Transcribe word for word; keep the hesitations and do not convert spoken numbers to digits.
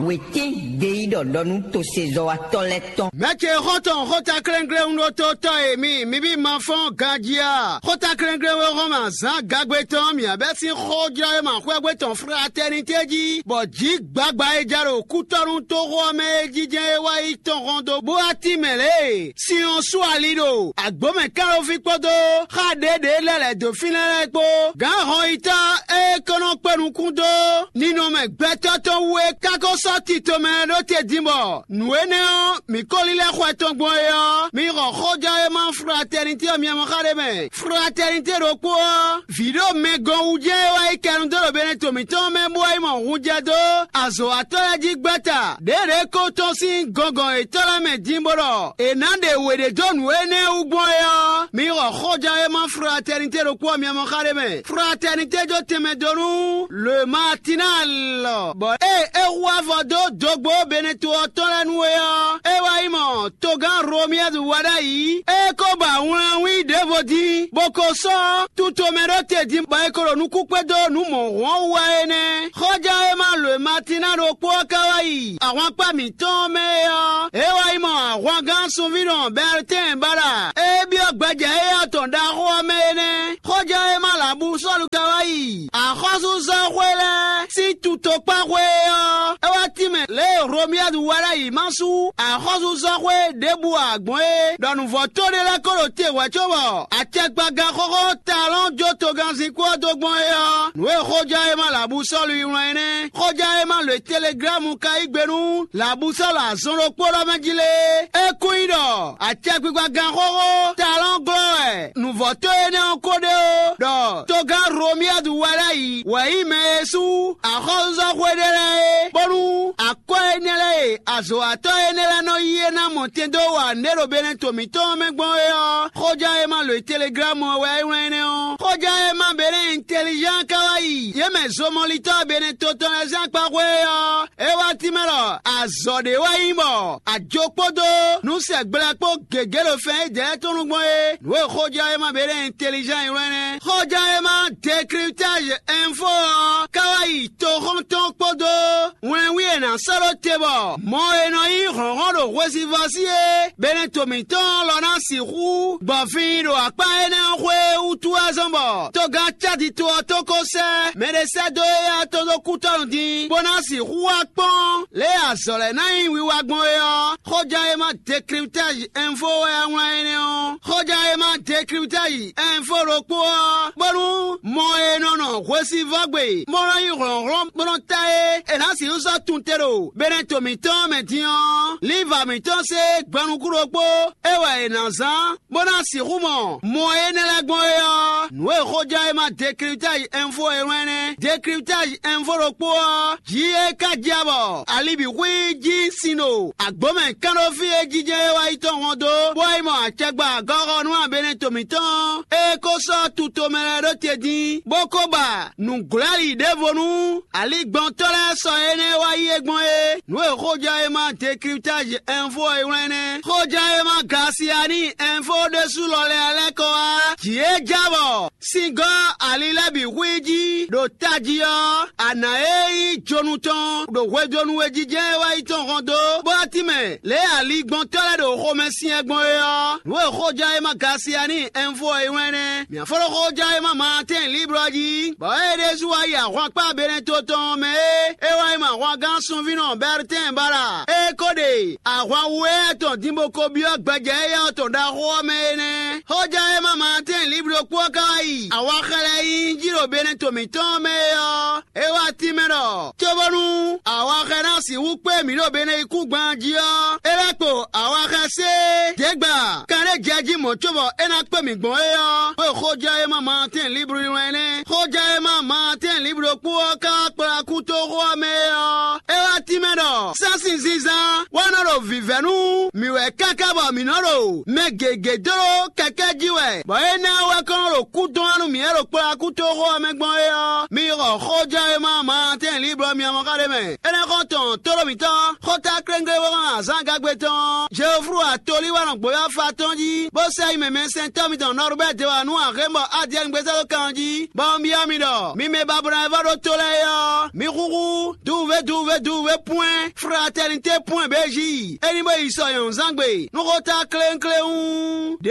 Wětín ɖe yí ɖɔ ɖɔ nú tosezɔ́watɔ́ lɛ́ɛ tɔn. Mɛ̌ ce xɔ́ntɔn xóta klɛ́nklɛ́n ɖó tó tɔ́ e mi, mi bí ma fɔ́n ganjí a? Xóta klɛ́nklɛ́n wé hɔn mɛ azǎn gagbe tɔn mǐ abɛ́ sín xójlɔ́ e ma xwɛ́gbé tɔn fratɛ́nitɛ́ jí, bɔ jǐ gbagba e ja ɖo kútɔ́nú toxo ɔ́ mɛ é jínjɛ́n é wá yi tɔn hɔn dó bó wá tín mɛ lě e sin ɔ́ sú ali ɖo agbǒmɛ kánɖóví kpódó xá ɖěɖě lɛ́ lɛ̌ dó fínɛ́ lɛ́ɛ kpó. Gǎn hɔnyitɔ́ e kɔn nɔ kpé nukún dó ninɔmɛ gbɛtɔ́ tɔn wú é ká ko sɔ́ tito mɛ ɖó te din bɔ nǔ énɛ́ ɔ́, mǐ ko lílɛ́ xwɛ tɔn gbɔn é ɔ́, mi xɔ xójɔ́ e ma fratɛnitɛ́ ɔ́ miamɔ xá ɖé mɛ. Fratɛnitɛ́ ɖokpó ɔ́, vǐ ɖo mɛ gɔn wú jɛ́n é wá yi kɛnu dó ɖo Benɛto mǐtɔn mɛ bó wá yi mɔ hunjɛ dó azɔ̌watɔ́ lɛ́ɛ jí gbɛ́ta. Ɖěɖě ko tɔ́n sín gɔngɔn yětɔn lɛ́ɛ mɛ din bó ɖɔ è nǎ ɖe wě ɖé dó nǔ énɛ́ wú gbɔn é ɔ́, mi xɔ xójɔ́ e ma fratɛnitɛ́ ɖokpó ɔ́ miamɔ xá ɖé mɛ. Fratɛnitɛ́ jó tɛnmɛ dó nú Le Matinal, bɔ ée é hu avɔ dó dogbo Benɛto ɔ́ tɔn lɛ́ɛ nu é ɔ́, é wá yi mɔ togán Romiyɛ́du wá ɖ'ayǐ. É ko ba wlɛnwí ɖěvo dín, bó ko sɔ́ tutomɛ ɖó te din, bɔ é ko ɖo nukún kpé dó nǔ mɔ̌hun ɔ́ wú wɛ é nɛ́. Xɔ́ján e ma lo e ma tín ná ɖokpó ɔ́ ka wá yi ahwankpá mǐtɔn ɔ́ mɛ é ɔ́, é wá yi mɔ ahwangán sunví nɔ Bɛɛltɛ́n báɖa e byɔ́ gbɛjɛ éyɛ́ tɔn ɖaxó ɔ́ mɛ é nɛ́. Xɔ́ján e ma lǎbú Sɔ́lu ka wá yi axɔ́súzɔ́xwé lɛ́ɛ sín tutokpáxwé é ɔ́, é wá tínmɛ lě e Romiyadu wá ɖ'ayǐ ma sú axɔ́súzɔ́xwé ɖěbǔ ǎ gbɔn é, ɖɔ nǔvɔ́tɔ́ ɖé lɛ́ɛ ko ɖo te hwɛ̌ cóbɔ acɛkpagán xóxó talɔn jó togannzin kú ɔ́ dó gbɔn é ɔ́, nǔ e xóján e ma lǎbú Sɔ́lu yi wlán é nɛ́. Xóján e ma lǒ e Teleglámu ka yí gbe nú lǎbú Sɔ́lu azɔn ɖokpó ɖɔ mɛ jí lé, é kún nyí ɖɔ acɛkpikpagán xóxó talɔn glɔ́ wɛ nǔvɔ́tɔ́ énɛ́ ɔ́ ko ɖe ó, ɖɔ togán Romiyadu wá ɖ'ayǐ wɛ nyí mɛ e sú axɔ́súzɔ́xwé ɖé lɛ́ɛ é, bónú akwɛ́ énɛ́ lɛ́ɛ e azɔ̌watɔ́ énɛ́ lɛ́ɛ nɔ yí é ná mɔ tɛn dó wa nǔɖé ɖo Benɛto mǐtɔn ɔ́ mɛ gbɔn é ɔ́, xóján e ma lǒ e Teleglámu ɔ́ wɛ é wlán énɛ́ ɔ́. Xóján e ma Benɛ́ Intelizán ka wá yi yě mɛ zomɔlitɔ́ Benɛto tɔn lɛ́ɛ sín akpaxwé é ɔ́, é wá tínmɛ ɖɔ azɔ̌ ɖé wɛ nyí bɔ ajo kpódó nǔsɛgblɛ kpó gěgé ɖo fɛn e jɛ tɔn nukɔn é. Nǔ e xóján e ma Benɛ́ Intelizán yi wlán nɛ́. Xóján e ma Décryptage Info ɔ́ ka wá yi toxɔ́ntɔn kpódó wlɛnwí e nǎ sɔ́ ɖó te bɔ mɔ e nɔ nyí hlɔ̌nhlɔ́n ɖo hwesivɔ́ sí é Benɛto mǐtɔn lɔ ná sixú gbɔ fin ɖo akpá énɛ́ ɔ́ xwé wútu wá zɔ́n bɔ togán Cádi to ɔ́ tó ko sɛ́ mɛɖé sɛ́ dó éyɛ́ tɔn dó kútɔ́nu din, bó ná sixú wá kpɔ́n lě e azɔ̌ lɛ́ɛ ná nyí wiwa gbɔn é ɔ́. Xóján e ma Décryptage Info wɛ a wlán énɛ́ ɔ́. Xóján e ma Décryptage Info ɖokpó ɔ́, bónú mɔ e nɔ nɔ hwesivɔ́gbe bó nɔ nyí hlɔ̌nhlɔ́n bó nɔ ta é, è nǎ sixú sɔ́ tun te ɖo Benɛto mǐtɔn mɛ din ɔ́, liva mǐtɔn se gbɛnukún ɖokpó é wɛ è nǎ zán bó ná sixú mɔ mɔ énɛ́ lɛ́ɛ gbɔn é ɔ́, nǔ e xóján e ma Décryptage Info e wlán nɛ́. Décryptage Info ɖokpó ɔ́, jǐ e ka jɛ bɔ ali bǐ xwí jí sin ɖo agbǒmɛ kánɖófí e jínjɛ́n é wá yi tɔn hɔn dó, bó wá yi mɔ acɛgba gɔ́xɔnú Benɛto mǐtɔn e ko sɔ́ tutomɛ lɛ́ɛ ɖó te dín, bó ko ba nǔglɔ́li ɖěvo nú aligbɔntɔ́ lɛ́ɛ sɔ énɛ́ wá yi é gbɔn é. Nǔ e xóján e ma Décryptage Info e wlán nɛ́. Xóján e ma Gasiani Info ɖésú lɔ lɛ́ɛ lɛ́ kɔ wá. Jǐ e ja bɔ sin gɔ́ ali lɛ́ɛ bǐ hu i jí ɖo tají ɔ́, a nǎ e nyí jonu tɔn ɖo hwedonu e jijɛ e wá yi tɔn hɔn dó, bó wá tínmɛ lě e aligbɔntɔ́ lɛ́ɛ ɖo xomɛ syɛn gbɔn é ɔ́. Nǔ e xóján e ma Gasiani Info e wlán nɛ́. Mǐ fɔ́n ɖó xóján e ma Maatɛ́n Liblɔ jí, bɔ é ɖésú wá yi ahwankpá Benɛto tɔn mɛ é, é wá yi mɔ ahwangán sunvínɔ Bɛɛltɛ́n báɖa. É ko ɖe ahwan wu éyɛ́ tɔn din bó ko byɔ́ gbɛjɛ éyɛ́ tɔn ɖaxó ɔ́ mɛ é nɛ́. Xóján e ma Maatɛ́n Liblɔ kpó ɔ́ ka wá yi awaxɛ lɛ́ɛ nyi jí ɖo Benɛto mǐtɔn mɛ é ɔ́, é wá tínmɛ ɖɔ cóbónú awaxɛ ná sixú kpé mǐ ɖo Benɛyíkúngban jí ɔ́, é lɛ́ kpo awaxɛ sé děgbà kanɖé jɛ jí mɔ̌ cóbɔ é ná kpé mǐ gbɔn é ɔ́, xwe xóján e ma Maatɛ́n Liblɔ wlán nɛ́. Xóján e ma Maatɛ́n Liblɔ kpó ɔ́ ka wá kplá kútoxó ɔ́ mɛ é ɔ́, é wá tínmɛ ɖɔ sɛ́nsin zínzán wá nɔ ɖo vǐvɛ́ nú mǐ wɛ káká bɔ mǐ nɔ ɖo mɛ gěgé dó ɖó kɛkɛ́ jí wɛ, bɔ énɛ́ ɔ́ wɛ kɔn nɔ ɖo kú dɔn wá nú mǐ e ɖo kplɔ́ akútoxó ɔ́ mɛ gbɔn é ɔ́, mi xɔ xóján e ma Maatɛ́n Liblɔ miamɔ xá ɖé mɛ. Énɛ́ xɔ́ntɔn tóɖó mǐtɔn, xóta kléŋklé bó hɛn azǎn gagbe tɔn, Jeoflu atolí wá nɔ gbǒyɔ́ fa tɔn jí, bó sɛ yi mɛ mɛsɛntɔ́ mitɔn Nɔrubɛ́ de wá nú axémbɔ Adiɛ́ngbésá ɖó kan ɔ́ jí, bɔ un byɔ́ mi ɖɔ mi mɛ babɔnɔ e vɔ́ ɖó tó lɛ́ɛ é ɔ́, mi xúxú dú www.fraternité.bj. É ní bó yi sɔ nyɔ̌nuzángbe nú xóta kléwúnkléwún ɖě